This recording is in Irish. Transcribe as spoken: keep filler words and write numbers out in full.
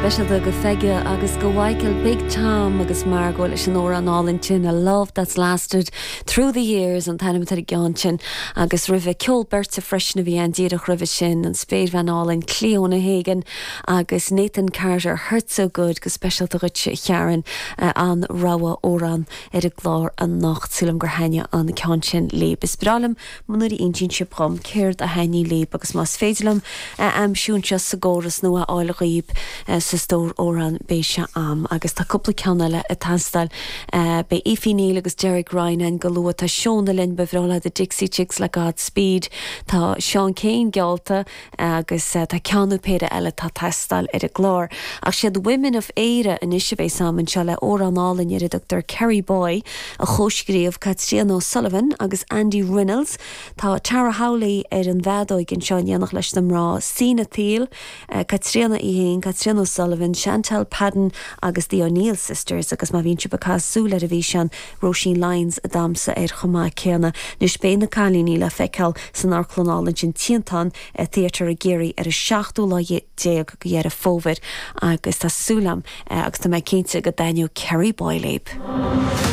speisialta go Pheige agus go Michael Big Tom agus Margot leis an amhrán álainn sin a love that's lasted through the years an t-ainm ar an gceann sin agus roimhe ceol beirte freisin a bhí an díreach roimhe sin an spéirbhean álainn Clíona Hagan agus Nathan Carter Hurt So Good go speisialta dhuit Sharon uh, an rogha amhrán ar an gclár anocht sílim gur thaitin an ceann sin libh. Is breá liom nuair a insíonn sibh dom céard a thaitníonn libh agus más féidir liom uh, aimsiú seo sa gcóras nó a fháil dhaoibh uh, sa stór amhrán beidh sé agam agus tá cúpla ceann eile ag teastáil uh, Beidh Aoife Neal agus Derek Ryan an go luath tá Seona linn ba bhreá The Dixie Chicks le Godspeed Tá Seán Keane geallta agus uh, tá ceann nó péire eile tá ag teastáil ar an gclár. Ach siad Women of Éire anois a bheidh agam anseo le amhrán álainn ar a dtugtar Kerry Boy a chomhscríobh Katrina O'Sullivan agus Andy Reynolds Tá Tara Howley ar an bhfeadóg anseo in éineacht leis na mná Sina Thiel, uh, Katrina í féin, Katrina O'Sullivan, Chantal Padden agus the O'Neill Sisters agus má bhíonn sibh ag caitheamh súil ar an bhfíseán Roisin Lyons ag damhsa air chomh maith céanna anois beidh na cailíní le feiceáil san amharclann álainn sin Triantán Theatre i gCiarraí ar an seachtú lá déag de Dheireadh Fómhair agus tá súil agam agus tá mé cinnte go dtaitneoidh Kerry Boy libh.